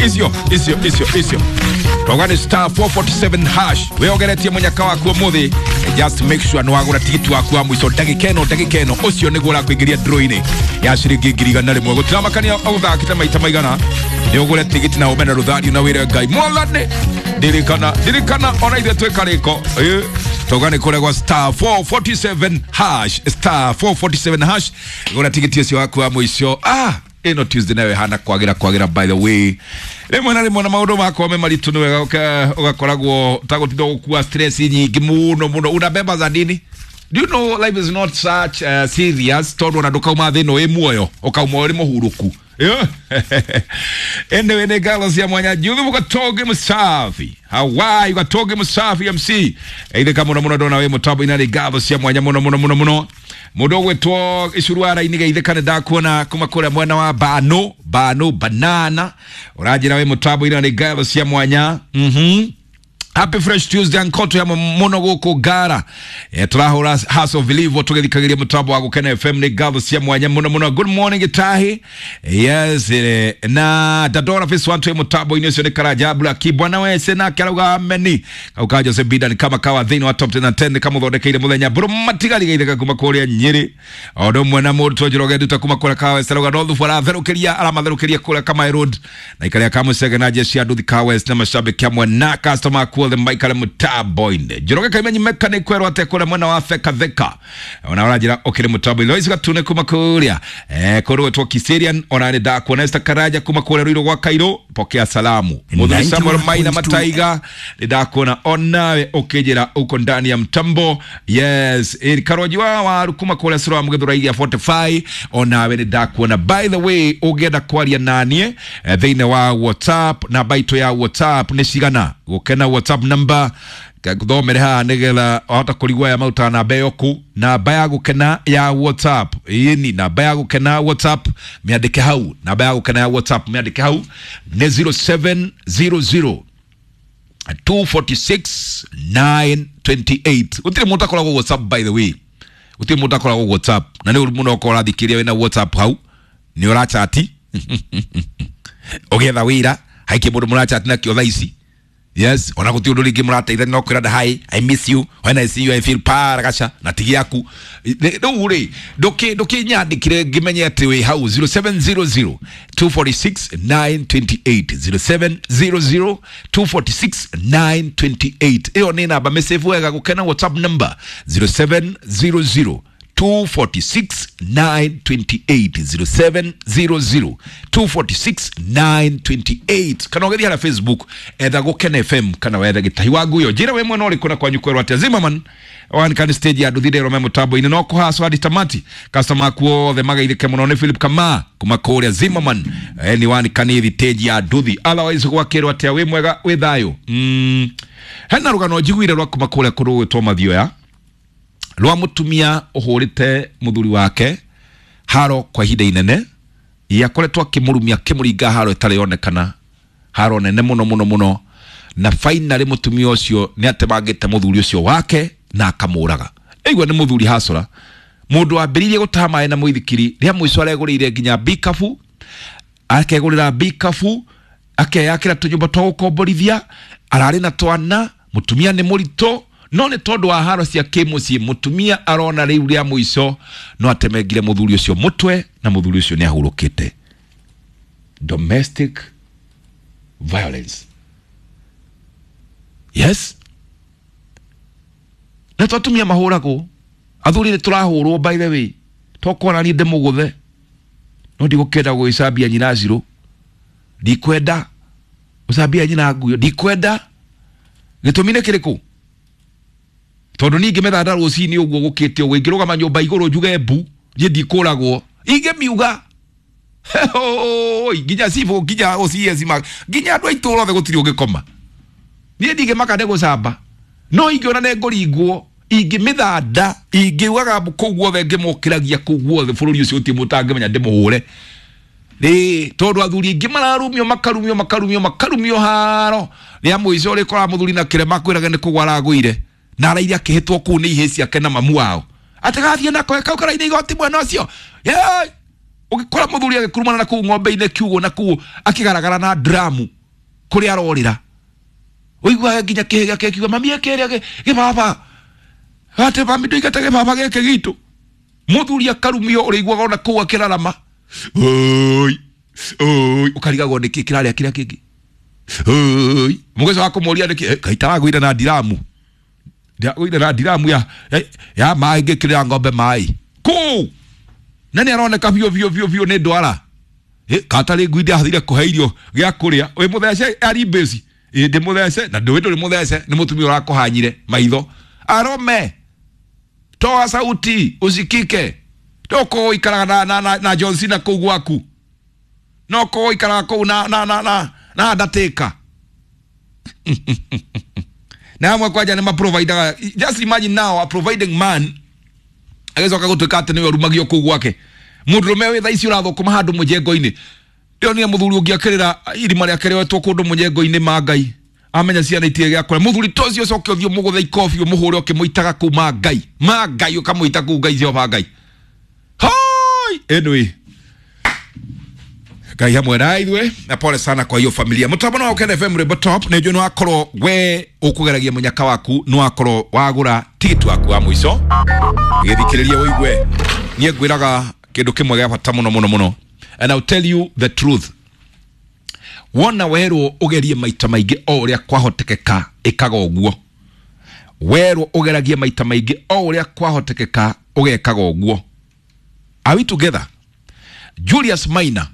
Icio icio icio icio twauga nĩ star 447 hash. Wĩongeretie mũnyaka waku ũmũthĩ, just make sure nĩ wagũra tigiti waku wa mũico ndagĩka ĩno, ndagĩka ĩno ũcio nĩguo ũrakũingĩria draw-inĩ ya ciringi 100,000. Gũtiramakania ũthakĩte maita maigana, nĩ ũgũre tigiti na ũmene rũthario na wĩre Ngai mwathani ndirikana, ndirikana ona ithuĩ twĩ karĩko. Twauga nĩ kũrĩa star 447 hash, star 447 hash, gũra tigiti ũcio waku wa mũico. Ĩno Tuesday nayo ĩhana kwagĩra kwagĩra, by the way. Rĩmwe na rĩmwe na maũndũ makwa me maritũ nĩ wega ũgakoragwo ũtagũtinda gũkua stress nyingĩ mũno mũno. Unabeba za nini? Do you know life is not such serious, tondũ ona ndũkauma thĩ ĩno wĩ muoyo, ũkauma ũrĩ mũhurũku. Anyway, nĩ ngatho cia mwanya Juthu Gatoge Musafi Hawaii, Gatoge Musafi MC ithika mũno mũno, ndona wĩ mũtambo-inĩ, nĩ ngatho cia mwanya mũno mũno mũno mũno. Mũndũ ũgwĩtwo Icuru wa Raini geithĩka, nĩ ndakuona kuma kũrĩa mwena wa Bano Bano Banana, ũranjĩra wĩ mũtambo-inĩ, nĩ ngatho cia mwanya. Happy Fresh Tuesday nkoto ya muno gũkũ Ngara. Tũrahũra House of Believe tũgĩthikagĩria mũtambo wa Gũkena FM, nĩ ngatho cia mwanya mũno mũno. Good morning Gitahi. Yes, na Dadora Face 1 twĩ mũtambo-inĩ ũcio nĩ Karanja Black bwana wese nake arauga ameni. Kau ka Jose Bidan kama kawa thĩinĩ wa top 10 na 10 kamũthondekeire mũthenya mbũrũ matigari geithĩka kuma kũrĩa Nyĩrĩ. O ũndũ ũmwe na mũrutwo Njoroge Nduta kuma kũrĩa Kawa West arauga no thubu aratherũkĩria, aramatherũkĩria kũrĩa Kamae Road na ikaria Kamũcege na jeshi ya nduthi Kawa West na mashabiki amwe na customer akuothe maikare mũtambo-inĩ. Njoroge Kaimenyi mechanic kwerwo atĩa kũrĩa mwena wa Theka Theka, ona ũranjĩra ũkĩrĩ mũtambo-inĩ. Lois Gatune kuma kũrĩa kũrĩ gwetwo Kiserian, ona nĩ ndakuona. Esther Karaja kuma kũrĩa Ruiru gwa Kairũ, pokea salamu. Mũthuri Samuel Maina Mataiga, nĩ ndakuona onawe ũkĩnjĩra uko ndani ya mtambo. Yes, Karoji wa waru kuma kũrĩa Sura wa Mũgĩthũrai ya 45, onawe nĩ ndakuona. By the way, ũngĩenda kwaria naniĩ thĩinĩ wa WhatsApp, namba itũ ya WhatsApp nĩ cigana? Gũkena WhatsApp number ngũthomere haha nĩgetha wahota kũrigwo aya marutaga namba ĩyo kũ. Namba ya Gũkena ya WhatsApp, ĩni namba ya Gũkena WhatsApp, mĩandĩke hau. Namba ya Gũkena ya WhatsApp, mĩandĩke hau, nĩ 0700 246 928. Gũtirĩ mũndũ akoragwo WhatsApp, by the way, gũtirĩ mũndũ akoragwo WhatsApp, na nĩ ũru mũno ũkorwo ũrathikĩrĩria wĩna WhatsApp hau nĩ ũrachati ũgĩetha wĩra haikĩ mũndũ mũrachati nakĩo thaa ici. Yes, ona gũtirĩ ũndũ rĩngĩ mũrateithania, no kwĩra hi, I miss you, when I see you I feel paragasha na tigi yaku. Rĩu rĩ, ndũkĩnyandĩkire ngĩmenye atĩ wĩ hau. 0700 246 928, 0700 246 928, ĩyo nĩ namba mĩsave wega. Gũkena WhatsApp number 0700 246 928, 0700 246 928, kana ũgĩthiĩ harĩa Facebook etha Gũkena FM kana wethe Gĩtahi wa Nguyo, njĩra wĩ mwena ũrĩkũ na kwanyu kwerwo atĩa. Zimmerman wanikani stage ya nduthi ndero me mũtambo-inĩ no kũhacwo hadi tamati, customer aku othe magaithĩke mũno. Nĩ Philip Kama kuma kũrĩa Zimmerman, ni wanikani stage ya nduthi. Otherwise gwakĩrwo atĩa? Wĩ mwega, wĩ thayũ? Hena rũgano njiguire rwa kuma kũrĩa kũndũ gwĩtwo Mathioya, rwa mũtumia ũhũrĩte mũthuri wake haro kwa ihinda inene. Yakoretwo akĩmũrumia, akĩmũringa haro ĩtarĩ yonekana, haro nene mũno mũno mũno, na finally mũtumia ũcio nĩ atemangĩte mũthuri ũcio wake na akamũraga. Ĩigua nĩ mũthuri hacora, mũndũ wambĩrĩirie gũtaha maĩ na mũithikiri, rĩa mũico aregũrĩire nginya bikabu, akegũrĩra bikabu, akeyakĩra tũnyũmba twa gũkomborithia, ararĩ na twana, mũtumia nĩ mũritũ, no nĩ tondũ wa haro cia kĩmũciĩ mũtumia arona rĩu rĩa mũico no atemengire mũthuri ũcio mũtwe, na mũthuri ũcio nĩ ahurũkĩte. Domestic violence, yes, na to atumia mahũragwo, athuri nĩ tũrahũrwo. By the way, tokorwo niĩ ndĩmũgũthe, no ndigũkĩenda gũgĩcambia nyina Cirũ, ndikwenda gũcambia nyina Nguyo, ndikwenda. Gĩtũmi nĩ kĩrĩkũ? Tondũ niĩ ingĩmethanda rũcinĩ ũguo gũkĩte ũguo, ingĩrũgama nyũmba igũrũ njuge mbu, niĩ ndikũragwo. Ingĩmiuga nginya cibũ, nginya OCS, nginya andũ a itũũra othe, gũtirĩ ũngĩkoma. Niĩ ndingĩmaka nĩ gũcamba, no ingĩona nĩ ngũringwo, ingĩmĩthanda, ingĩugaga kũu guothe, ngĩmũkĩragia kũu guothe bũrũri ũcio, gũtirĩ mũtangĩmenya ndĩmũhũre rĩ, tondũ athuri aingĩ mararumio, makarumio, makarumio, makarumio haro, rĩa mũico rĩkoraga mũthuri na kĩrema kwĩraga nĩ kũgwa aragũire, na araire akĩhĩtwo kũu nĩ ihĩĩ ciake na mamu wao atĩ gathiĩ nako kau karaine igoti mwena ũcio. Ũgĩkora mũthuri agĩkurumana na kũu ng'ombe-inĩ kiugũ na kũu akĩgaragara na dramu kũrĩa arorĩra. Ũiguaga nginya kĩhĩ gĩake kiuga mami ĩkĩrĩa gĩbaba. Atĩ mami ndũigate gĩbaba gĩkĩ gitũ. Mũthuri akarumio ũrĩiguaga ona kũu akĩrarama. Oi, oi, ũkarigagwo nĩkĩ kĩrarĩa kĩrĩa kĩngĩ. Oi, mũgeco wa kũmũria nĩkĩ kaĩ taragũire na ndiramu. Ndagũire na ndiramu ya maĩ ngĩkĩrĩra ng'ombe maĩ. Kũu! Na nĩ aroneka biũ biũ biũ biũ nĩ ndwara. Katarĩ ngui ndĩathire kũhe irio gĩa kũrĩa. Wĩ mũthece ari mbĩci. Ĩ ndĩ mũthece na ndũĩ ndũrĩ mũthece nĩ mũtumia ũrakũhanyire maitho. Arome! Toa sauti usikike. Toko ũikaraga na John Cena kũu gwaku. No kũu ũikaraga kũu na Undertaker. Na amwe kwanja nĩ maprovidaga. Just imagine now a providing man agĩcoka gũtuĩka atĩ nĩwe ũrumagio kũu gwake. Mũndũrũme wĩ thaa ici ũrathũkũma handũ mũjengo-inĩ. Ndĩronire mũthuri ũngĩ akĩrĩra irima rĩake rĩoetwo kũndũ mũjengo-inĩ ma Ngai. Amenya ciana itirĩ gĩa kũrĩa. Mũthuri ta ũcio ũcoke ũthiĩ ũmũgũthe ikobi ũmũhũre ũkĩmũitaga kũu ma Ngai. Ma Ngai ũkamũita kũu Ngai Jehova Ngai. Hoi! Anyway. Ngai hamwe na ithuĩ na pole sana kwa hiyo familia. Mũtambo no Ũkene FM Rwĩmbo Top nĩ njũĩ nĩ wakorwo we ũkũgeragia mũnyaka waku nĩ wakorwo wagũra tigiti waku wa mũico. Gĩthikĩrĩrie ũigue. Niĩ ngwĩraga kĩndũ kĩmwe gĩa bata mũno mũno mũno. And I'll tell you the truth. Wona werwo ũgerie maita maingĩ o ũrĩa kwahotekeka ĩkaga ũguo. Werwo ũgeragie maita maingĩ o ũrĩa kwahotekeka ũgekaga ũguo. Are we together? Julius Maina